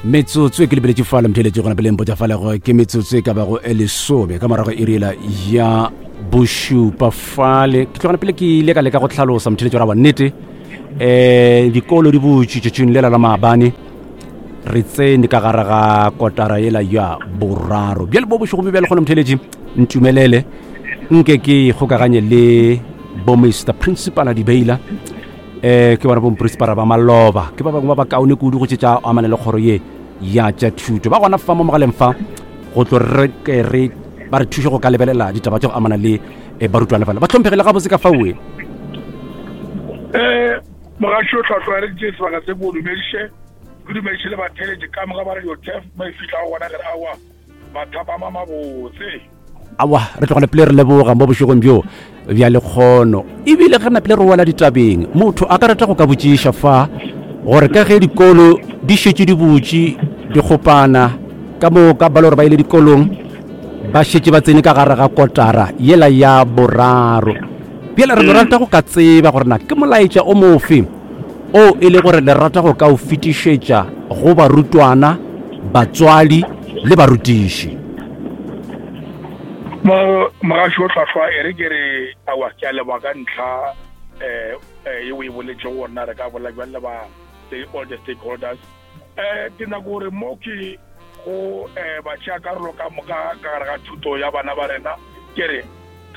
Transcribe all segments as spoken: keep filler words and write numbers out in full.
Metsotso e ke lebeletše fale motheletše gona pele mpotša fale gore ke metsotso e ka bago e lesome ka morago iriela ya bošupa fale. Ke tlogana pele ke ile ka leka go hlalosa motheletše ra wa nnete um dikolo di butše tšatšing lela la maabane, re tsene ka gare ga kotara yela ya boraro. Bjale bo bošego bjale kgona motheletše ntumelele nke ke kgokaganye le bo Mister Principal Dibeila, um ke bona bomprinsipala ba maloba, ke ba bangwe ba bakaone kudu go tše tša amana le kgoro ye ya tša thuto. Ba gona fa mo mogaleng fa go tlo re ke re ba re thuše go ka lebelela ditaba tša go amana le eh, barutwana fale. Ba hlomphegile gabotse ka faoe. um mogaši o tlhwatlhwaereditše sebaka se, ko dumediše, ke dumediše le batheletše ka moka ba Radio Tef mo e fitlhago gona. Ke re aowa, mathapama mabotse. Awa, re tlogane pele re leboga mo bošegong bjo bja lekgono. Ebile ge re napile re wela ditabeng, motho a ka rata go ka botšiša fa gore ka ge dikolo di šetše di butše dikgopana ka moka, ba le gore ba ile dikolong ba šetše ba tsene ka gare ga kotara yela ya boraro, bjale re no rata go ka tseba gore na ke molaetša o mofe o e le gore le rata go ka o fetišetša go barutwana, batswadi le barutiši. Mo mogaši o tlhwatlhwa, e re ke re aowa, ke a leboga ka ntlha um ye o e boletšego gore na re ka bolela bjang le ba all the stakeholders. um ke nyako gore mo ke go um batšea karolo ka moka ka gare ga thuto ya bana ba rena, ke re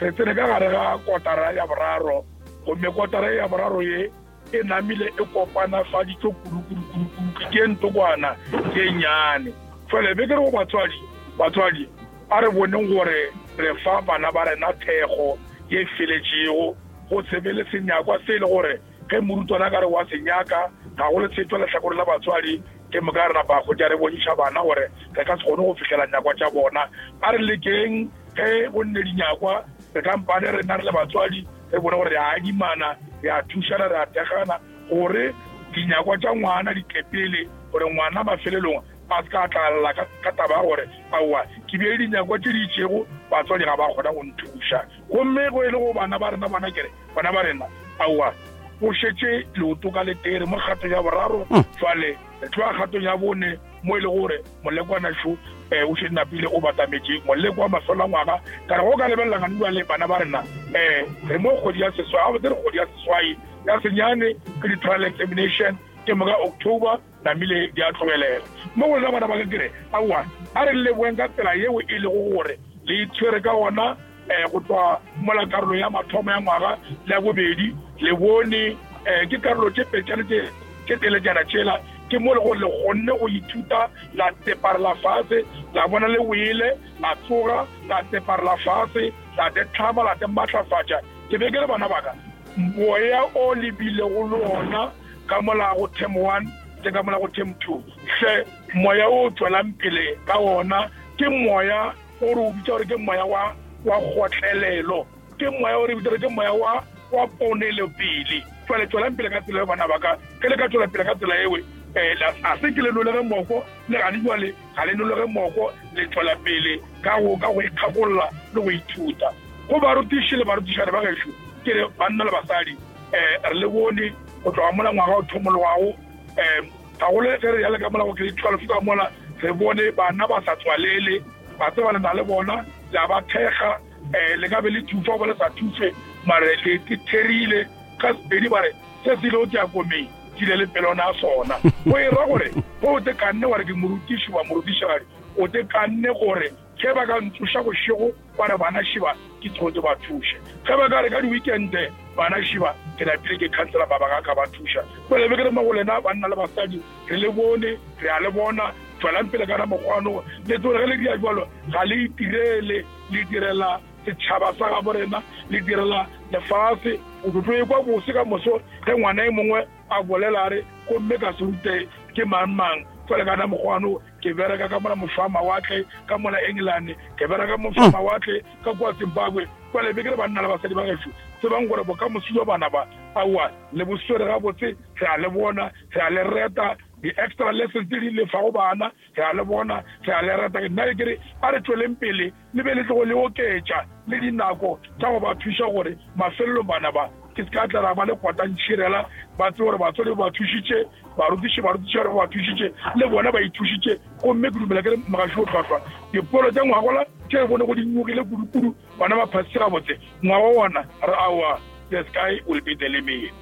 re tsene ka gare ga kotara ya boraro, gomme kotara ya boraro ye e namile e kopanafaditšwe kudu-kudu-kudu-kudu, ke ntokwana ke nnyane. Jale be ke re go batswadi, batswadi a re boneng gore re fa bana ba rena thekgo ye feletšego, go se be le senyakwa se e le gore ge morutwana ka re wa se nyaka ga go le setšwa lehlakore la batswadi, ke moka re napa kgotša re bontšha bana gore re ka se kgone go fihlela nyakwa tša bona. A re lekeng ge go nne dinyakwa, re kampane rena re le batswadi re bone gore re a adimana, re a thušana, re a thekgana gore dinyakwa tša ngwana di tle pele, gore ngwana mafelelong a se ka tlalla ka taba ya gore aowa, ke bile dinyakwa tše di itšego, batswadi ga ba kgona go nthuša. Gomme go e le go bana ba rena, bona kere bana ba rena aowa, o šetše leoto ka letere mo kgatong ya boraro. Jwale re tloga kgatong ya bone mo e le gore molekwana šo um o šetše napile o batametše moleko wa mafelo a ngwaga. Ka re go ka lebelela gane jwale bana ba rena, um re mo kgwedi ya seswai, gabotse re kgwedi ya seswai, ya senyane ke di-trial examination, ke moka October namile di a tlogelela. Mo go lena bana ba ka ke re aowa, a re leboeng ka tsela yeo e lego gore le itshwere ka gona um go tloga mola karolo ya mathomo ya ngwaga le ya bobedi le bone um ke karolo tše petšane tše tše teletšana tšela, ke mo le gore le kgonne go ithuta, la tseparela fase, la bona le wele, la tsoga, la tseparela fase, la te tlhama, la te maatlafatša. Ke be ke re bana baka, moya o lebilego le ona ka mola go term one le ka mola go term two, hle moya o tswelang pele ka ona ke moya o re o bitša gore ke moya wa wa kgotlelelo, ke moya o re bitša gore ke moya wa wa ponelopele. Jwale tswelang pele ka tsela eo bana ba ka, ge le ka tswela pele ka tsela ewe um a se ke le nolege moko le gane jwale ga le nolege moko, le tswela pele ka go ka go ikgakolla le go ithuta. Go barutiši le barutišane ba gešo ke re banna le basadi, um re le bone go tloga mola ngwaga o thomologago, um gagolo ge re ya le ka mola go grade twelve ka mola, re bone bana ba sa tswalele, ba tseba le na le bona, le a ba thekga, um le ka be le thufa goba le sa thufe, mare le therile ka sepedi ba re se se ile o ke ya komeng ke ile le pelona ya sona. Go e ra gore go o te kanne wa re ke morutiši wa morutišigadi, o te kanne gore ge ba ka ntsoša bošego ba re bana šiba ke tsoge ke ba thuše, ge ba ka re ka di-weekende bana šiba ke napile ke khansela mabaka a ka ba thuša. Jale be ke re mo go lena banna le basadi, re le bone, re a le bona, tswelang pele ka mokgwano le tsore ge le dia jwalo ga le itirele, le direla setšhaba sa gabo rena, le direla lefase. O tlo tlo ekwa bose ka moso ge ngwana e mongwe a bolela a re gomme ka se rute ke mang mang. Jwale ka na mokgwano ke bereka ka mola mošwa mawatle ka mola England, ke bereka mošwa mawatle ka kua Zimbabwe. Jwale be ke re banna le basadi ba gešo, tsebang gore bokamoso jwa bana ba aowa le bo swere gabotse, re a le bona, re a le reta. Di-extra lessons tse di lefago bana re a le bona, re a le reta. Nna ke re a re tsweleng pele le be le tlogo le oketša le dinako tša go ba thuša gore mafelelong bana ba Ke se ka tla ra ba le kwatantšhirela, ba tsebe gore batswadi ba ba thušitše, barutiši barutiši ba ba thušitše, le bona ba ithušitše. Gomme ke dumela ke re mogaši o hlwahlwa. Dipolo tša ngwagola tše re bone go di nyogile kudu-kudu, bana ba phasitše gabotse. Ngwaga wona re aowa, the sky will be the limit.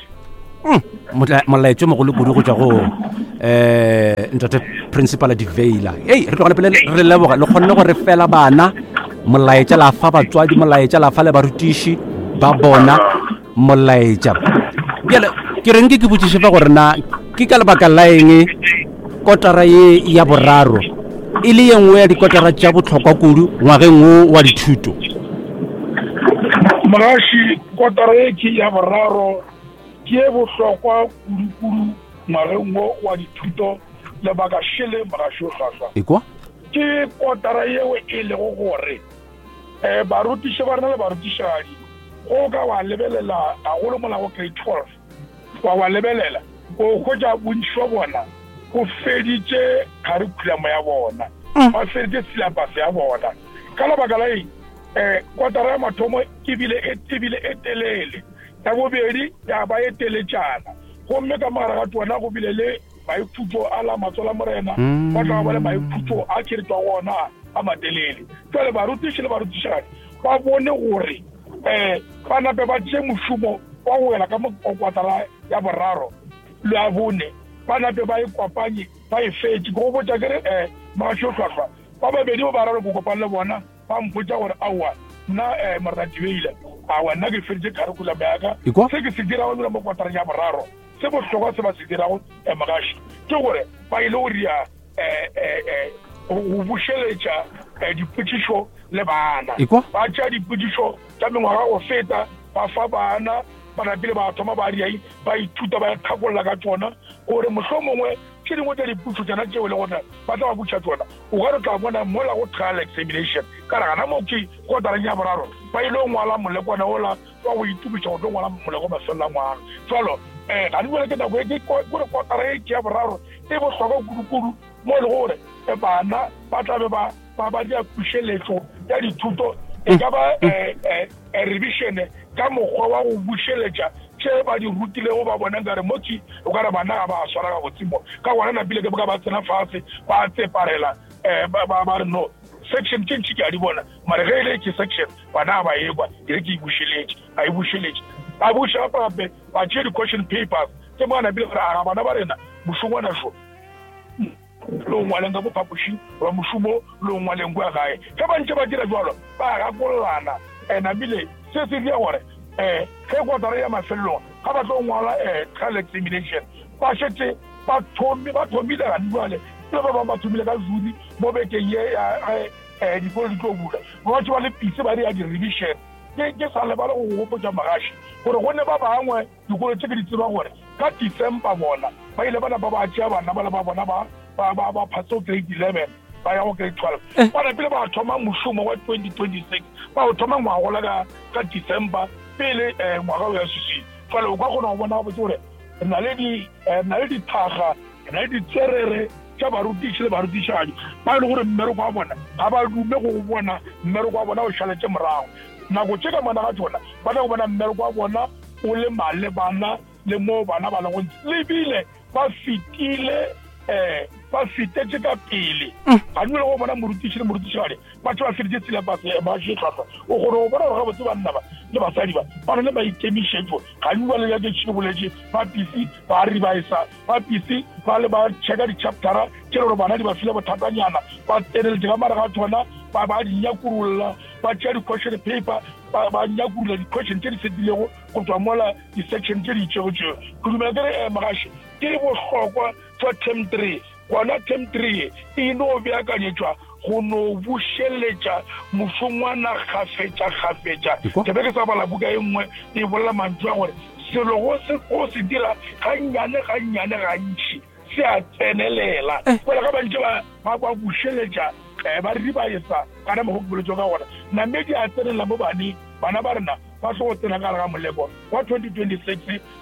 Molaetšo mogolo kudu go tšwa go um ntate Principal Diveila. Ei, re tlogale pele re leboga le kgonne go re fela bana molaetša, la fa batswadi molaetša, la fa le barutiši ba bona molaetša. Bjale ke reng ke ke botšiše fa gore na ke ka lebaka la eng kotara ye ya boraro e le ye nngwe ya dikotara tša bohlokwa kudu ngwageng wo wa dithuto? Mogaši, kotara ye ke ya boraro ke ye bohlokwa kudu-kudu ngwageng wo wa dithuto. Lebaka šele mogaši o hlwahlwa. Ekwa? Ke kotara yeo e lego gore um barutiši ba rena le barutišadi, go ka wa lebelela gagolo mola go grade twelve, wa wa lebelela o hwetša bontši wa bona go feditše curriculum ya bona, ba feditše syllabus ya bona. Ka lebaka la eng? Um kotara ya mathomo ebile ebile e telele, ya bobedi ya ba e teletšana, gomme ka mogare ga tsona go bile le maikhutšo a la matsola morena, ba tla ba le maikhutšo a tšheletšwa gona a matelele. Jwale barutiši le barutišigadi ba bone gore um ba nape ba tšee mošomo wa go wela ka mo kwatara ya boraro le ya bone, ba nape ba e kopanye ba e fetše. Ke go botša ke re um mogaši o hlwahlwa, ba babedi ba bararo ke kopane le bona, ba mpotša gore aowa nna um morena Dibeile, aowa nna ke feditše curriculum ya ka. Se ke se dirago ebile mo kwatareng ya boraro, se bohlokwa se ba se dirago um mogaši ke gore ba ile go ria um go bušeletša dipotšišo le bana. Ba tšea dipotšišo tša mengwaga go feta, ba fa bana, ba napile ba thoma ba riai, ba ithuta, ba ikgakolla ka tšona, gore mohlomongwe tše dingwe tša dipotšišo tšona tšeo le gore ba tla ba botša tšona, o ka re tla bona mola go trial examination. Ka re gana mo ke kotareng ya boraro ba ile go ngwala molekwana ola wa go itukiša go tlo ngwala moleko mafelelo a ngwaga. Jwalo um ga di bone ke nako e ke kore kotara e ke ya boraro e bohlokwa kudu-kudu mo e le gore bana ba tla be ba ba ba dia pušeletšo ya dithuto, e ka ba revision ka mokgwa wa go bušeletša tše ba di rutilego, ba bona nkare motši o ka re bana ga ba swara gabotse mo. Ka gona napile ke ka ba tsena fase ba tseparela um ba ba re no section tše ntši ke a di bona, mare ge e le ke section bana ga ba ekwa, e re ke e bušeletše, a e bušeletše. Ba buša gape ba tšee di-question papers tše mo napile gore aga bana ba rena mošongwana šo le o ngwaleng ka mo phapošing goba mošomo le o ngwaleng kua gae. Ge ba ntše ba dira jwalo ba gakollana, namile se se dira gore um ge kotara ya mafelelong ga ba tlo ngwala um trial examination ba šetše ba thomi ba thomile gane jwale, le ba bangwe ba thomile ka June mo bekeng ye ya ge dikolo di tlo bula, ba batše ba le pise ba dira di-revision. Ke ke sa lebale go gopotša mogaši gore go ne ba bangwe dikolo tše ke di tseba gore ka December bona ba ile ba napa ba tšea bana ba le ba bona ba ba ba ba phase grade eleven ba ya go grade twelve, ba napile ba thoma mošomo wa twenty twenty six, ba o thoma ngwagola ka ka December pele um ngwaga o ya swiswing. Jwale o ka kgona go bona gabotse gore re na le di re na le dithaga, re na le ditswerere tša barutiši le barutišadi ba e le gore mmereko wa bona ga ba dume go bona mmereko wa bona o šaletše morago. Nako tše ka mona ga tšona ba tla go bona mmereko wa bona o le malebana le mo bana ba lego ntse, lebile ba fetile um ba fetetše ka pele. Ga dumele go bona morutiši le morutišigadi ba tše ba feditše syllabus ba hlwahlwa, o kgone go bona gore gabotse banna ba le basadi ba ba na le maikemišetšo. Ga di bale ya ke tšhile boletše ba pisi ba revisa, ba pisi ba le ba checka di-chaptera tše le gore bana di ba file bothatanyana, ba tseneletše ka mare ga tsona, ba ba di nyakurulla, ba tšea di-question paper ba ba nyakurulla di-question tše di fetilego go tswa mola di-section tše di itšego tšeo. Ke dumela ke re um mogaši ke bohlokwa tšwa term three, gona term three e no beakanyetšwa go no bušeletša mošongwana kgafetša kgafetša. Ke be ke sa bala buka e nngwe e bolela mantšu a gore selo go se go se dira gannyane gannyane gantši se a tsenelela. Fela ga ba ntše ba ba ba bušeletša um ba ribaesa kana mokgwa ke boletsego ka gona, namedi a tsenelela mo baneng, bana ba rena ba tlo go tsena ka gare ga moleko wa twenty twenty six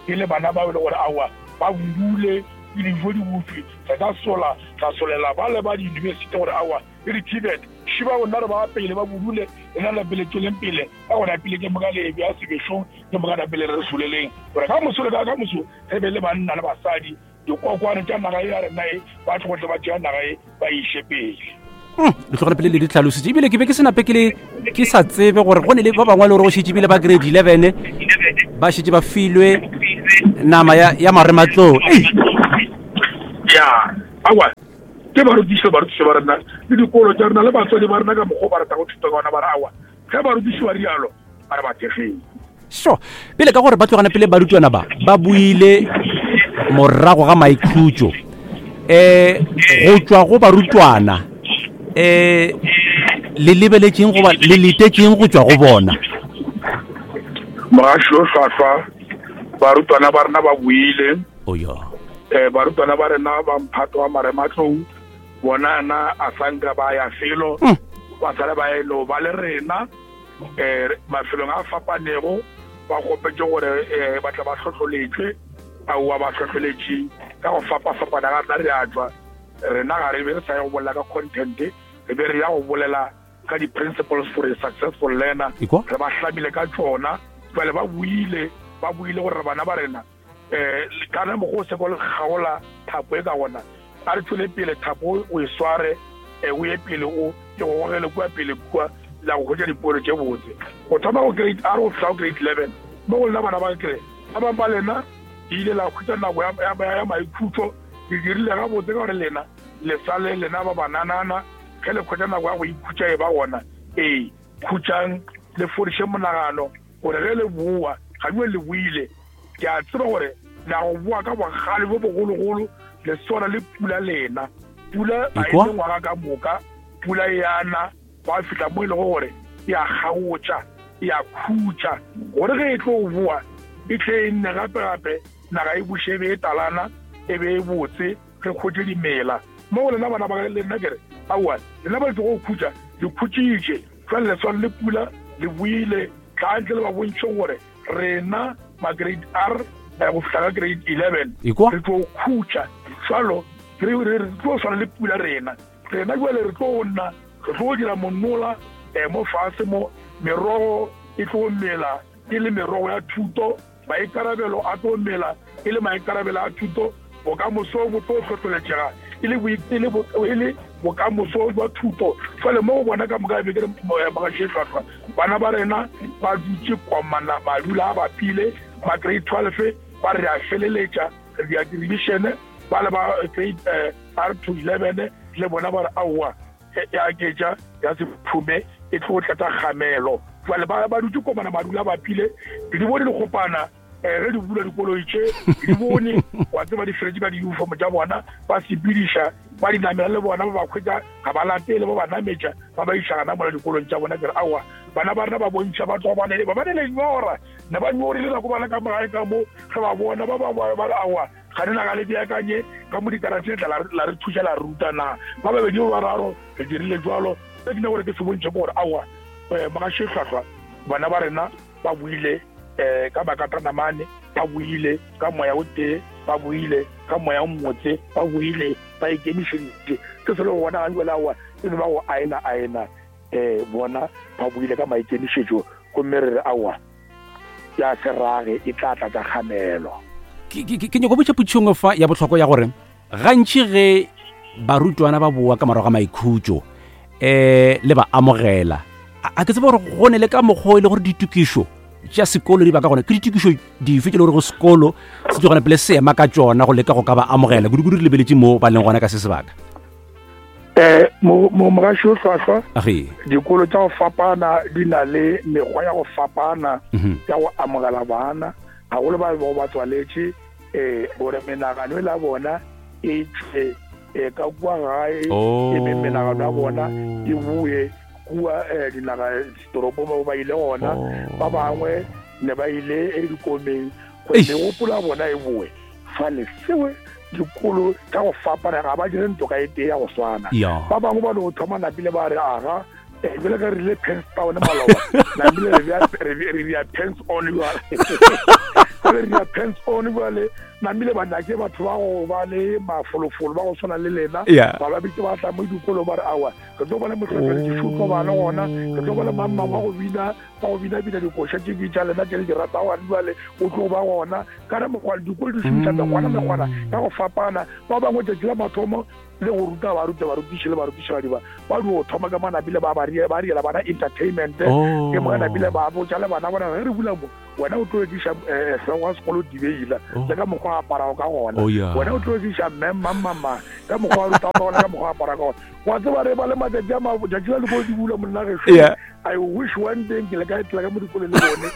e le bana ba e le gore aowa ba budule dijo di butswe, re ka sola ra solela ba le ba di-university gore aowa le di-T V E T šiba gona re ba pele ba budule rena la pele tsweleng pele ka gona pele ke moka le bja sebešong ke moka na pele re soleleng gore ka moso le ka ka moso re be le banna le basadi dikokwane tša naga e ya rena e ba tlo tle ba tšea naga e ba iše pele. Le tlogele pele le di tlhalositse, ebile ke be ke se nape ke le ke sa tsebe gore go ne le ba bangwe le gore go šetše ebile ba grade eleven ba šetše ba filwe nama ya, ya marematlou. Ei! Ya, awa, ke barutiši le barutiši ba rena le dikolo tša rena le batswadi ba rena ka mokgwa o ba rata go thuta ka ona, ba re awa, ge barutiši ba rialo ba re ba thekgeng. So pele ka gore ba tlogana pele barutwana ba ba buile morago ga maikhutšo, um go tšwa go barutwana, um le lebeletšeng goba le letetšeng go tšwa go bona? Mogaši o hlwahlwa, barutwana ba rena ba buile. Oya. um barutwana ba rena ba mphato wa marematlou bona na a sanka ba ya felo, Mm. ba sale ba elo ba le rena um mafelong a fapanego, ba kgopetse gore um ba tla ba hlohloletšwe. Aowa, ba hlohloletše ka go fapafapana ga rena. Re a tšwa rena ga re be re sa ye go bolela ka content, re be re ya go bolela ka di-principles for a successful learner. Ekwa? Re ba hlamile ka tšona. Jale ba buile ba buile gore bana ba rena um kana mokgwa o seko le kgaola thapo e ka gona, a re tswele pele, thapo o e sware, um o ye pele, o e go gogele kua pele kua la go hwetša dipoelo tše botse go thoma go grade R go fihla go grade eleven. Mo go lena bana ba kere ba bangwe ba lena ke ile la hwetša nako ya- ya ya maikhutšo, le dirile gabotse ka gore lena le sale lena ba bananana. Ge le hwetša nako ya go ikhutša e ba gona, ee, khutšang le fodiše monagano gore ge le boa ga bue le boile, ke a tseba gore la go boa ka bogale bo bogologolo. Le swana le pula, lena pula ga e Ekwa? ne ngwaga ka moka, pula e ana gwa fihla mo e lego gore e a kgaotša, e a khutša gore ge e tlo boa e tle e nne gape-gape, naga e buše e be e talana e be e botse, re kgotše dimela. Mo go lena bana ba lena ke re aowa, lena ba le tlogo khutša, le khutšitše jale, le swana le pula, le buile tlantle le ba bontšhe gore rena ma grade R eh, go fihla ka grade eleven Ekwa? re tlo khutša jalo, re re- re tlo swana le pula rena. Rena jale re tlo nna re tlo dira monola um mo fase mo merogo e tlo mela e le merogo ya thuto, maikarabelo a tlo mela e le maikarabelo a thuto, bokamoso bo tlo hlohloletšega e le boi- e le bo- e le bokamoso jwa thuto. Jale mo go bona ka moka be ke re mogaši hlwahlwa, bana ba rena ba dutše komana, madula a bapile. Ba grade twelve ba re a feleletša re dia di-revision, ba le ba grade eh, R to eleven le bona ba re aowa, e ya aketša ya sephume e tlo tlatsa kgamelo. Jale ba ba dutše komana, madula a bapile, ke di bone dikgopana um ge di bula dikoloi tše, ke di bone wa tseba di feletše ka di-uniform tša bona, ba sepediša ba di namela le bona, ba ba hwetša ga ba latele, ba ba nametša ba ba iša gana mola dikolong tša bona. Ke re aowa, bana ba rena ba bontšha ba tloga ba ne ba ba ne lenyora, ne ba nyorile nako ba le ka magae ka mo ge ba bona ba bangwe ba re aowa, ga ne naga le beakanye ka mo dikaratšheng tla la re- la re thuša la re ruta na ba babedi ba bararo re dirile jalo. Se ke ne gore ke se bontšhe ke gore aowa, um mogaši hlwahlwa, bana ba rena ba buile um ka makatanamane, ba buile ka moya o tee, ba buile ka moya o mmotse, ba buile ba ikemišeditše se se le go bona ga jale aowa e be ba go aena aena um bona ba buile ka maikemišetšo, gomme re re aowa, ya se rage e tla tlatsa kgamelo. ke ke- ke nyako botša potšongwe fa ya bohlokwa ya gore gantši ge barutwana ba boa ka morago ga maikhutšo um le ba amogela, a a ke tseba gore go ne le ka mokgwa o e le gore ditokišo tša sekolo di ba ka gona, ke ditokišo dife tše le gore go sekolo se tlogana pele se ema ka tšona go leka go ka ba amogela, kudu-kudu re lebeletše mo ba leng gona ka se sebaka? um mogaši o hlwahlwa, Age. dikolo tša go fapana di na le mekgwa ya go fapana Mhm. ya go amogela bana, gagolo ba bego ba tswaletše um gore menagano e la bona e tšwe um ka kua gae, e be menagano ya bona e boe kua um dinaga ditoropong mo ba ile gona. Ba bangwe ne ba ile e dikomeng gore Eish. megopolo ya bona e boe fale. Seo dikolo tša go fapana ga ba dire ntoka e tee ya go swana. Ya. Ba bangwe ba no thoma napile ba re aga, eh, jwale ka re rile pens down maloba, napile re bea- re bea- re bea pens on jwale. Jwale re bea pens on jwale. Namile ba nake batho ba go ba le mafolofolo ba go tshwana le lena ba ba bitse ba tla mo dikolong ba re awa re tlo bona motlhotlheletši tlo ba le gona re tlo bona mamma wa go bina ba go bina bina dikoša tše di tša lena tše le di ratago gane jale o tlo ba gona ka re mokgwa dikolo di šomiša mekgwana mekgwana ka go fapana ba bangwe tšatši la mathomo le go ruta ba ruta barutiši le barutišigadi ba ba dio thoma ka manapile ba ba riela bana entertainment ke mo napile ba botša le bana bona ge re bula mo wena o tlo ekiša hlogo wa sekolo dibeila le ka mokgwa aparago ka gona wena o tlo ekiša mme mmamama ka mokgwa wa ruta ka gona ka mokgwa apara ka gona wa tseba re ba le matšatši a matšatši la dikolo di bula monna gešo. I wish one day ke le ka etela ka mo dikolong le bone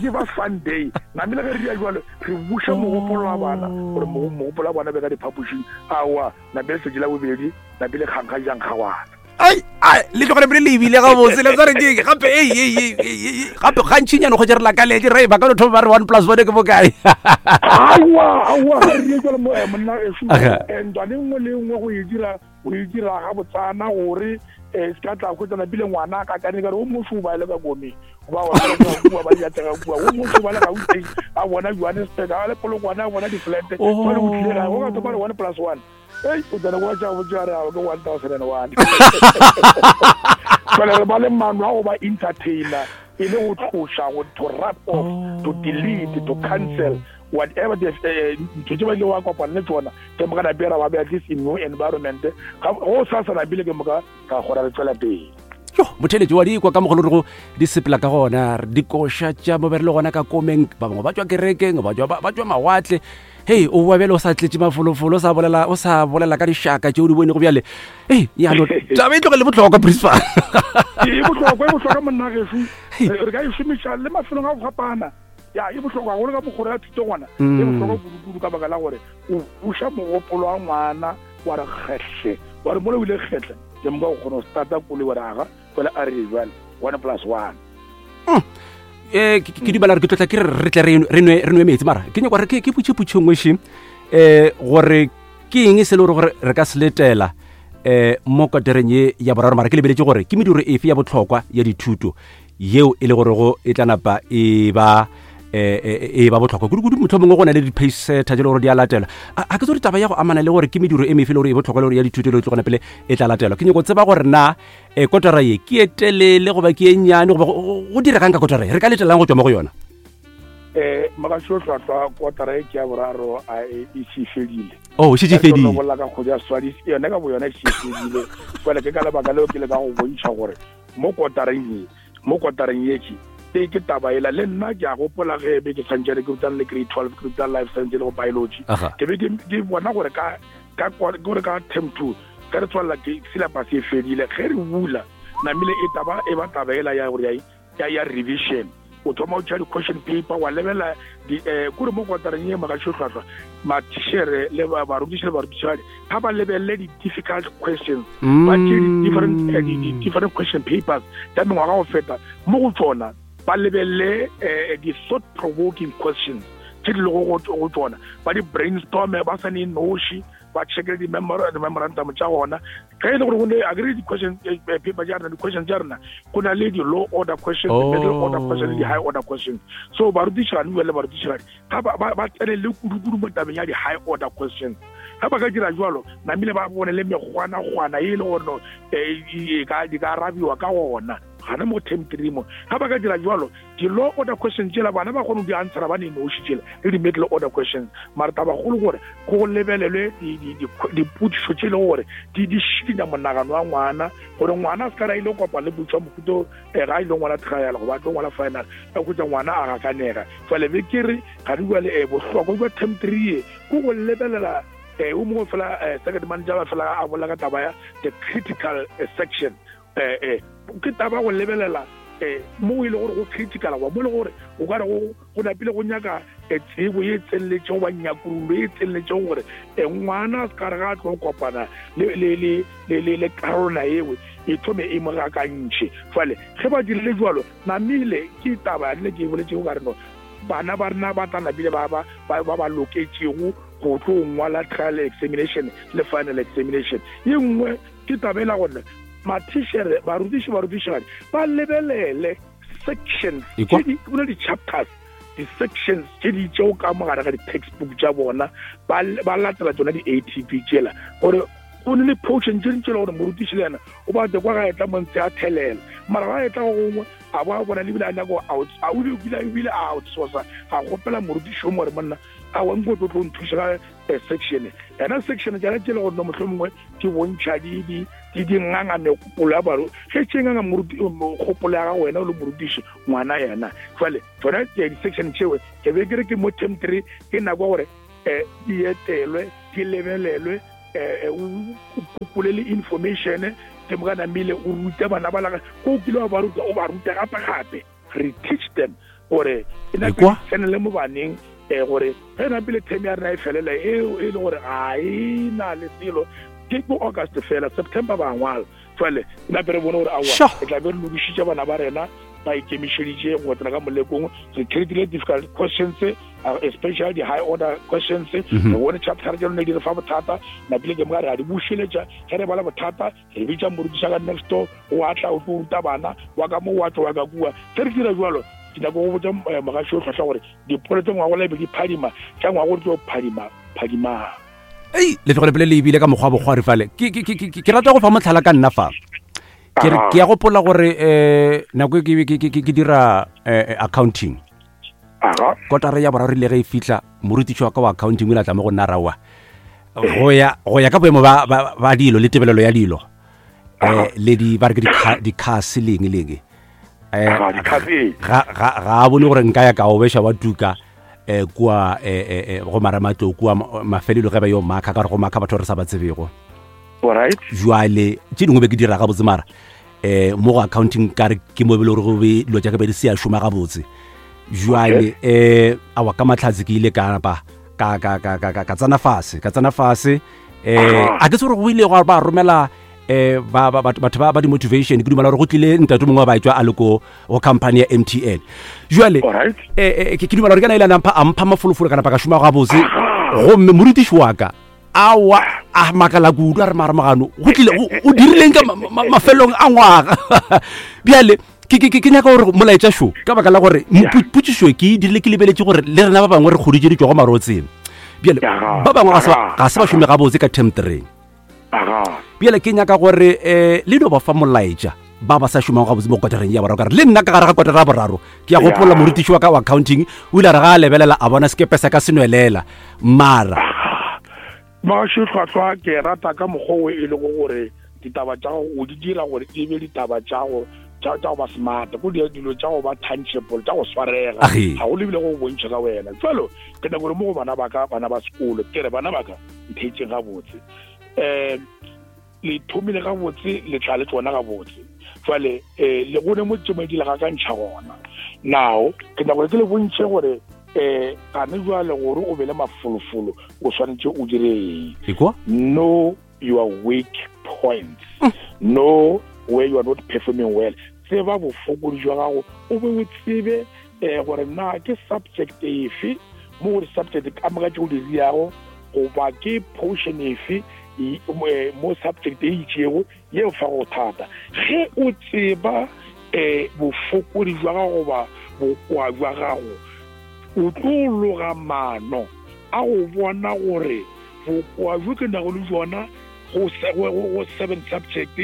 give us fun day namile ge re dia jalo re buša mogopolo wa bana gore mogopolo wa bona be ka diphapošing aowa napile letšatši la bobedi napile kgankga jang kgawana ai ai le tlogele pele le ebile gabotse le tsare ke gape ei ei ei gape gantšinyane go tšere lakaletse re ba ka no thoma ba re one plus one ke bokae aowa aowa re die jalo monna gešo ntwane nngwe le nngwe go e dira o e dira ga botsana gore um se ka tla kgwetsana pile ngwana ka kane kare o moso o ba le ka komeng ba kua ba diatega kua o moso ba le Gauteng a bona Johannesburg a le Polokwane a bona di-flat jale o tlile gae go ka thoma re one plus one ei o tsena kwa tša botša re ke one thousand and one jale re ba le maano a go ba entertainer e le go tloša go to wrap off to delete to cancel whatever the ntho tse ba ile wa kopana le tsona ke moka napera ba be at least in new environment go sa sa napile ke moka ka gora re tswela pele yo motheletši wa dikwa ka mogolo re go di sepela ka gona dikoša tša mo be re le gona ka komeng ba bangwe ba tswa kerekeng ba tswa mawatle hei o boa bjale o sa tletše mafolofolo o sa bolela o sa bolela ka dišaka tšeo di bonego bjale ei yano taba e tlogele bohlokwa principal e bohlokwa e bohlokwa monna gešo re ka e šomiša le mafelong a go fapana ya e bohlokwa gagolo ka mokgoro ya thuto gona e bohlokwa kudu-kudu ka baka la gore o buša mogopolo wa ngwana wa re kgehle wa re mola o ile kgehle ke moka o kgona go starta koloi wa re aga fela a re jale one plus one um ke dumela gore ke tlotla ke re re tle re nwe metsi mara ke nyaka gore ke putšhe-putšhe nngwe še um gore ke eng se le gore gore re ka se letela um mo kotereng ye ya boraro mara ke lebeletše gore ke mediro efe ya bohlokwa ya dithuto yeo e le gorego e tla napa e ba e ba bohlokwa kudu-kudu mohlomongwe go na le di-pacesetter tše le gore di a latelwa a ke tsore taba ya go amana le gore ke mediro e mefe le gore e bohlokwa le gore ya dithuto le e tlogona pele e tla latelwa ke nyako tseba gore na um kotara ye ke e telele goba ke e nnyane goba go diregang ka kotara ye re ka letelang go tswa mo go yona um magašo hlwahlwa kotara e ke ya boraro a e se fedile oh e šetše fedile bolela ka kgwedi ya swadi yone ka bo yona e se fedile fela ke ka lebaka leo ke le ka go bontšha gore mo kotareng ye mo kotareng ye ke ke taba ela le nna ke a gopola ge be ke santšane ke rutang le grade twelve ke rutang life science le go biology ke be ke bona gore ka ka gore ka term two ka re tswalela ke syllabus e fedile ge re bula namile e taba e ba taba ela ya gore ya ya revision o thoma o tšea di-question paper wa lebelela kore mo kotareng ye magašo hlwahlwa mathišere le barutiši le barutišigadi ga ba lebelele di-difficult questions ba tšee di-different di-different question papers tša mengwaga go feta mo go tsona ba lebelele di-thought provoking questions tše di lego go tsona ba di-brainstorme ba sa ne noši ba checkele di-memorandum tša gona ge e le gore go a kere di-question paper tša rena di-questions tša rena go na le di-low order questions middle order questions le di-high order questions so barutišigadi bua le barutišigadi ga ba tsenelele kudu-kudu mo tabeng ya di-high order questions ga ba ka dira jalo namile ba bone le mekgwanakgwana e le gore di ka arabiwa ka gona gana mo term three mo ga ba ka dira jalo di-low order questions tšela bana ba kgone go di answera ba ne noši tšela le di-middle order questions mara tabagolo gore go lebelelwe dipotšišo tše e lego gore di di šikinya monagano wa ngwana gore ngwana a se ka ra ile kopa le potšo mohuto ga a ile ngwala trial goba a tlo ngwala final a hwetša ngwana a gakanega fale be ke re ga di bjale bohlokwa bja term three ye ke go lebelela o mongwe fela second manager ba fela a bolela ka taba ya the critical section ke taba go lebelela mo e le gore go critical goba mo e le gore o ka re go napile go nyaka tsebo ye tseneletšego goba nyakurolo ye tseneletšego gore ngwana a se ka re ga a tlo kopana le karolwana ewe e thome e mo gakantšhe fale ge ba dirile jalo namile ke taba le ke e boletšego ka re no bana ba rena ba tla napile ba ba ba loketšego go tlo ngwala trial examination le final examination ye nngwe ke taba e la gore mathišere barutiši barutišigadi ba lebelele sections tše di chapters di-sections tše di itšego ka mo gare ga di-textbook tša bona ba ba latela tsona di-A T P tšela gore go ne le portion tše dintši le gore morutiši le yena o ba kwa ga etla montse a thelela mara ga etla go gongwe a bo a bona lebile a nyako a o bile a outsourca a kgopela morutiši o mo gore monna a wa nko tlo tlo nthuša ka section ena section tšana tše le gore no mohlomongwe ke bontšha di di di di nganga megopolo ya baro ge tše nganga moruti kgopolo ya gago wena o le morutiši ngwana yena jwale tsona di-section tšeo ke be ke re ke mo term three ke nako gore um di etelwe di lebelelwe um o kopole le information ke mo ka namile o rute bana ba laga ko o kile wa ba ruta o ba ruta gape gape re teach them gore e Ekwa? tsenele mo baneng um gore ge napile term ya rena e felela e e le gore ga e na le selo ke ko August fela September ba ngwala jwale nape re bone gore aowa Sure. re tla be re lokišitše bana ba rena ba ikemišeditše go tsena ka molekong re treatile difficult questions uh, especially the high order questions Mhm. re bone chapter tša lone di re fa bothata napile ke moka re a di bušeletša ge re bala bothata re bitša morutiša ka next door o atla o tlo ruta bana wa ka mo wa tlo wa ka kua ge re dira jalo ke nyaka go botša eh, mogaši o hlwahlwa gore dipolo tse ngwago la be di phadima tša ngwago di tlo phadima phadimang ei letlogele pele le ebile ka mokgwa wa bokgwari fale ke ke- ke- ke- ke rata go fa motlhala ka nna fa ke re ke ya gopola gore um nako e ke- ke ke- ke dira eh, eh, accounting aga kotara ya boraro ile ge e fihla morutiši wa ka wa accounting o ile a tla mo go nna raowa go ya go ya ka boemo ba ba ba dilo le tebelelo ya dilo um le di ba re ke di- di-cars leng leng eh Aga, di-cars, ee. ga ga ga a bone gore nka ya ka obeša wa tuka eh kua eh, eh, eh, go marematlou kua ma- mafelelo ge ba yo makha ka gore go makha batho re sa ba tsebego alright jwale tše dingwe be ke dira gabotse mara um mo go accounting ka re ke mo e bele gore go be dilo tša ka be di se ya šoma gabotse jwale um awa ka matlhatse ke ile ka napa ka ka ka ka ka ka tsena fase ka tsena fase um a ke se gore go ile gwa ba romela um ba ba- batho batho ba ba di-motivation ke dumela gore go tlile ntate mongwe wa ba etswa a le ko go company ya M T N jwale alright eh, eh, ke ke dumela gore ke na ile a nampha a mpha mafolofolo ka napa ka šoma gabotse gomme morutiši wa ka awa a makala kudu a re mara mogano go tlile o o dirileng ka ma- ma- mafelong a ngwaga bjale ke ke- ke ke nyaka gore molaetša šo ka baka la gore Yeah. po- potšišo ke e dirile ke lebeletše gore le rena ba bangwe re kgoditše di tšwa go marotseng bjale Yeah. ba bangwe ga se ba- ga se ba šome gabotse ka term three aga bjale ke nyaka gore um le no ba fa molaetša ba ba sa šomang gabotse mo kotareng ya boraro ka re le nna ka gare ga kotara ya boraro ke ya gopola Yeah. morutiši wa ka wa accounting o ile a re ga a lebelela a bona sekepe sa ka se nwelela mara mogaši hlwahlwa ke rata ka mokgwa o e lego gore ditaba tša gago o di dira gore e be ditaba tša go tša tša go ba smart go dira dilo tša go ba tangible tša go swarega Age. ga go lebile go bontšha ka wena jalo ke nyaka gore mo go bana ba ka bana ba sekolo ke re bana ba ka ntheetseng gabotse um le thomile gabotse le tla le tsona gabotse jwale um le gone mo tšemo di le gakantšha gona now ke nyaka gore ke le bontšhe gore um gane jwale gore o be le mafolofolo o swanetše o dire eng ekwa know your weak points know where you are not performing well tseba bofokodi jwa gago o be o tsebe um gore na ke subject efe mo go di-subject ka moka tse o di riago goba ke portion efe e- mo eh, mo subject e itšego yeo fa go thata ge o tseba um bofokodi jwa gago goba bokoa jwa gago o tlo loga maano a go bona gore bokoa bjo ke nago le bjona go se- go- go go seven subject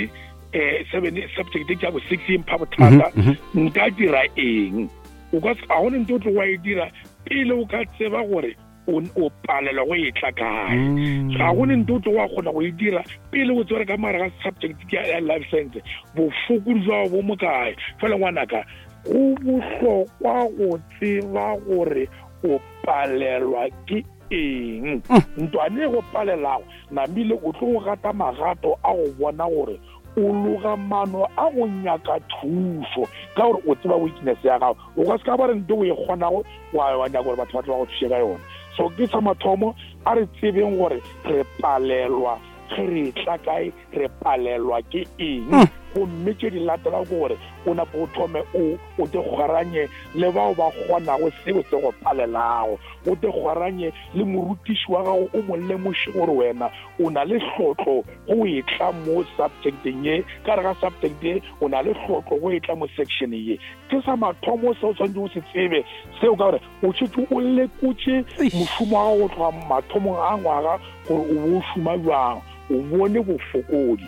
um seven subject ke ya bo six e mpha bothata Mhm, nka dira eng o ka se- ga gone ntho o tlo wa e dira pele o ka tseba gore o o palelwa go e tla kae Mm. ga gone ntho o tlo wa kgona go e dira pele o tsere ka mare ga subject ke ya life science bofokodi jwa gago bo mo kae fela ngwanaka go bohlokwa go tseba gore o palelwa ke eng ntwane e go palelago namile o tlo go gata magato a go bona gore o loga maano a go nyaka thušo ka gore o tseba weakness ya gago o ka se ka ba re nto o e kgonago wa wa nyaka gore batho ba tle ba go thuše ka yona so ke sa mathomo a re tsebeng gore re palelwa ge re tla kae re palelwa ke eng Gomme tše di latelago ke gore o nape o thome o o te kgwaranye le bao ba kgonago seo se go palelago, o te kgwaranye le morutiši wa gago, o mo lemoše gore wena o na le hlotlo go e tla mo subjecteng ye, ka re ga subject ye o na le hlotlo go e tla mo section ye. Ke sa mathomo se o tshwanetse o se tsebe seo, ka gore o šetše o lekotše mošomo wa gago go tloga mathomong a ngwaga gore o bo o šoma bjang, o bone bofokodi.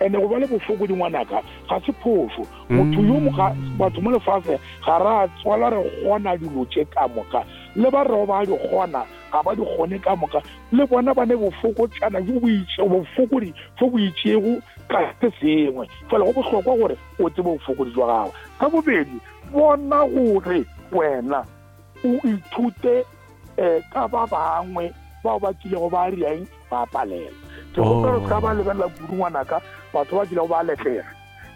Ene go ba le bofokodi, ngwanaka, ga se phošo. Motho yo moga batho mo lefase ga ra tswala re kgona dilo tše ka moka, le ba rego ba di kgona ga ba di kgone ka moka, le bona ba ne bofokotšana jo bo itšego, bofokodi jo bo itšego ka se sengwe. Fela go bohlokwa gore o tsebe bofokodi jwa gago. Ka bobedi, bona gore wena o ithute um ka ba bangwe bao ba kilego ba riang ba palela. Ke gopela se ka ba lebelela kudu, ngwanaka, batho ba kilego ba letlega,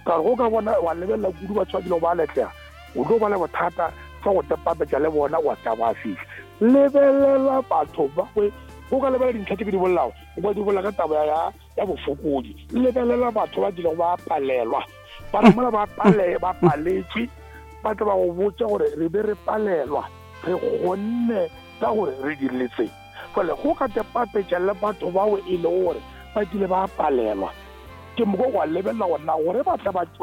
ka gore go ka bona wa lebelela kudu batho ba kilego ba letlega, o tlo ba le bothata fa go tepapetša le bona wa tla ba fihla. Lebelela batho ba go ka lebelela dintlha tse ke di bolelago, o ka di bolela ka taba ya ya bofokodi. Lebelela batho ba kilego ba palelwa, ba re mola ba pale ba paletšwe, ba tla ba go botša gore re be re palelwa, re kgonne ka gore re dirile tse. Fale go ka tepapetša le batho bao e lego gore ba kile ba palelwa, ke moko wa lebelela gona gore ba tla ba